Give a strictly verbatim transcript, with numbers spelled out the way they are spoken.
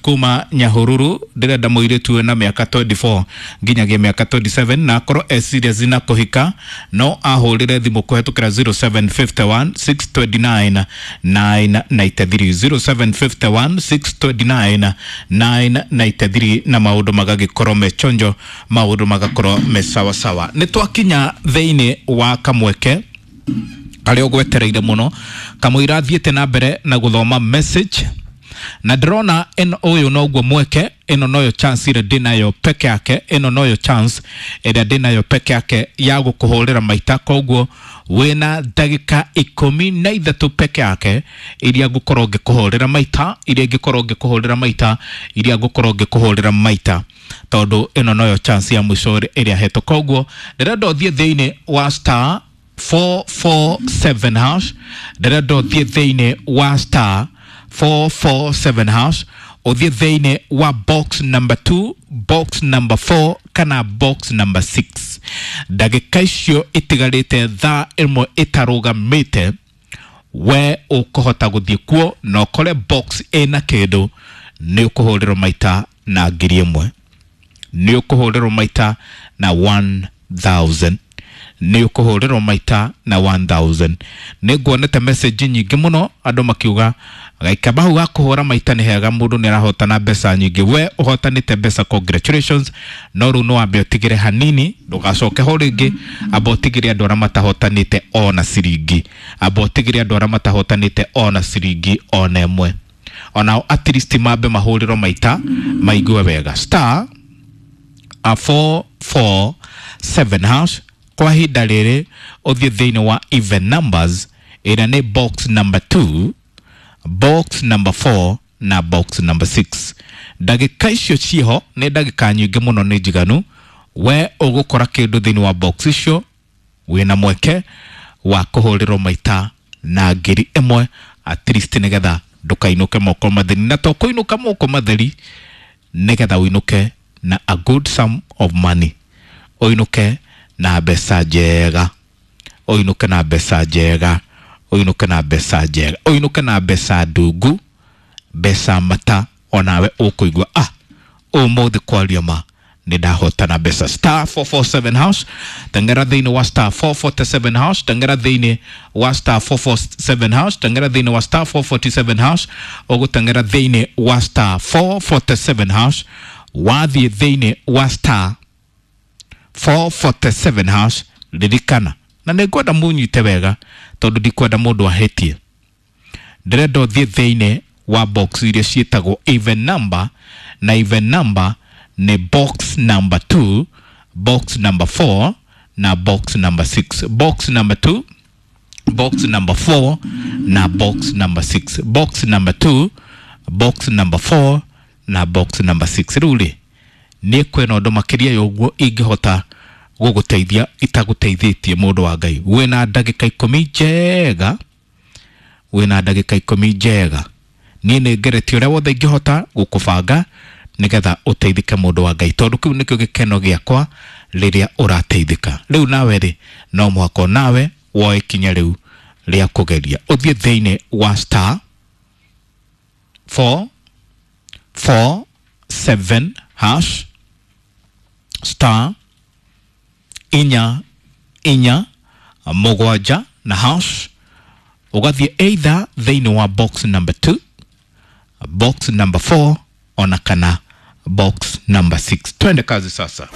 kuma Nyahururu, ndĩrenda mũirĩtu wĩna mĩaka mĩrongo ĩrĩ na ĩna nginyagia mĩaka mĩrongo ĩrĩ na mũgwanja na akorwo e serious na kũhika, no ahũrĩre thimũ kũhetũkĩra zero seven five one six two nine nine nine three, zero seven five one six two nine nine nine three, na maũndũ magagĩkorwo me chonjo, maũndũ magakorwo me sawasawa. Nĩ twakinya thĩinĩ wa kamweke karĩa ũgwetereire mũno kamũira thiĩte na mbere na gũthoma message, na ndĩrona ĩno ũyũ noguo mweke, ĩno noyo chance ĩrĩa ndĩnayo peke yake, ĩno noyo chance ĩrĩa ndĩnayo peke yake ya gũkũhũrĩra maita. Koguo wĩna ndagĩka ikũmi na ithatũ peke yake iria ngũkorwo ngĩkũhũrĩra maita, iria ingĩkorwo ngĩkũhũrĩra maita, iria ngũkorwo ngĩkũhũrĩra maita, tondũ ĩno noyo chance ya mũico ĩrĩa hetwo. Koguo ndĩrenda ũthiĩ thĩinĩ wa star four four seven hash, ndĩrenda ũthiĩ thĩinĩ wa star four four seven hash, ũthiĩ thĩinĩ wa box number two, box number four kana box number six. Ndagĩka icio itigarĩte thaa ĩmwe ĩtarũgamĩte, we ũkũhota gũthiĩ kuo na ũkore box ĩna kĩndũ, nĩ ũkũhũrĩrwo maita na ngiri ĩmwe, nĩ ũkũhũrĩrwo maita na ngiri ĩmwe, nĩ ũkũhũrĩrwo maita na ngiri ĩmwe. Nĩ nguonete message nyingĩ mũno andũ makiuga gaikamba hau ga kũhũra maita nĩ hega, mũndũ nĩ arahotana mbeca nyingĩ. We ũhotanĩte mbeca, congratulations, no rĩu no wambe ũtigĩre hanini, ndũgacoke ho rĩngĩ. Amba ũtigĩre andũ arĩa matahotanĩte ona ciringi, amba ũtigĩre andũ arĩa matahotanĩte ona ciringi ona ĩmwe, onao at least mambe mahũrĩrwo maita maigue wega. Star a four four seven hash kwa ihinda rĩrĩ, ũthiĩ thĩinĩ wa even numbers ĩrĩa nĩ box number two, box number four na box number six. Ndagĩka icio ciho nĩ ndagĩka nyingĩ mũno, nĩ njiganu. We ũgũkora kĩndũ thĩinĩ wa box icio, wĩna mweke wa kũhũrĩrwo maita na ngiri ĩmwe at least, nĩgetha ndũkainũke moko matheri, na to kũinũka moko matheri, nĩgetha ũinũke na a good sum of money, ũinũke na mbeca njega, ũinũke na mbeca njega, ũinũke na mbeca njega, ũinũke na mbeca ndungu, mbeca mata onawe ũkũigua, ah, ũmũthĩ kwaria ma nĩ ndahotana mbeca. Star four four seven hash, tengera thĩinĩ wa star four four seven hash, tengera thĩinĩ wa star four four seven hash, tengera thĩinĩ wa star four four seven hash. Ũgũtengera thĩinĩ wa star four four seven hash, wathiĩ thĩinĩ wa star four four seven hash. Ririkana, na nĩ ngwenda mũnyite wega tondũ ndikwenda mũndũ ahĩtie, ndĩrenda ũthiĩ thĩinĩ wa box iria ciĩtagwo even number, na even number nĩ box number two, box number four na box number six. Box number two, box number four na box number six. Box number two, box number four na box number six. Rĩu rĩ, nĩ kwĩna ũndũ makĩria ya ũguo ingĩhota gũgũteithia itagũteithĩtie? Mũndũ wa Ngai, wĩna ndagĩka ikũmi njega, wĩna ndagĩka ikũmi njega. Niĩ nĩ ngeretie ũrĩa wothe ingĩhota gũkũbanga nĩgetha ũteithĩke, mũndũ wa Ngai, tondũ kĩu nĩkĩo gĩkeno gĩakwa rĩrĩa ũrateithĩka. Rĩu nawe rĩ, no mũhaka nawe woe ikinya rĩu rĩa kũgeria, ũthiĩ thĩinĩ wa star four four seven hash, star inya inya mũgwanja na hash, ũgathiĩ either thĩinĩ wa box number two, box number four ona kana box number six. Twende kazi sasa.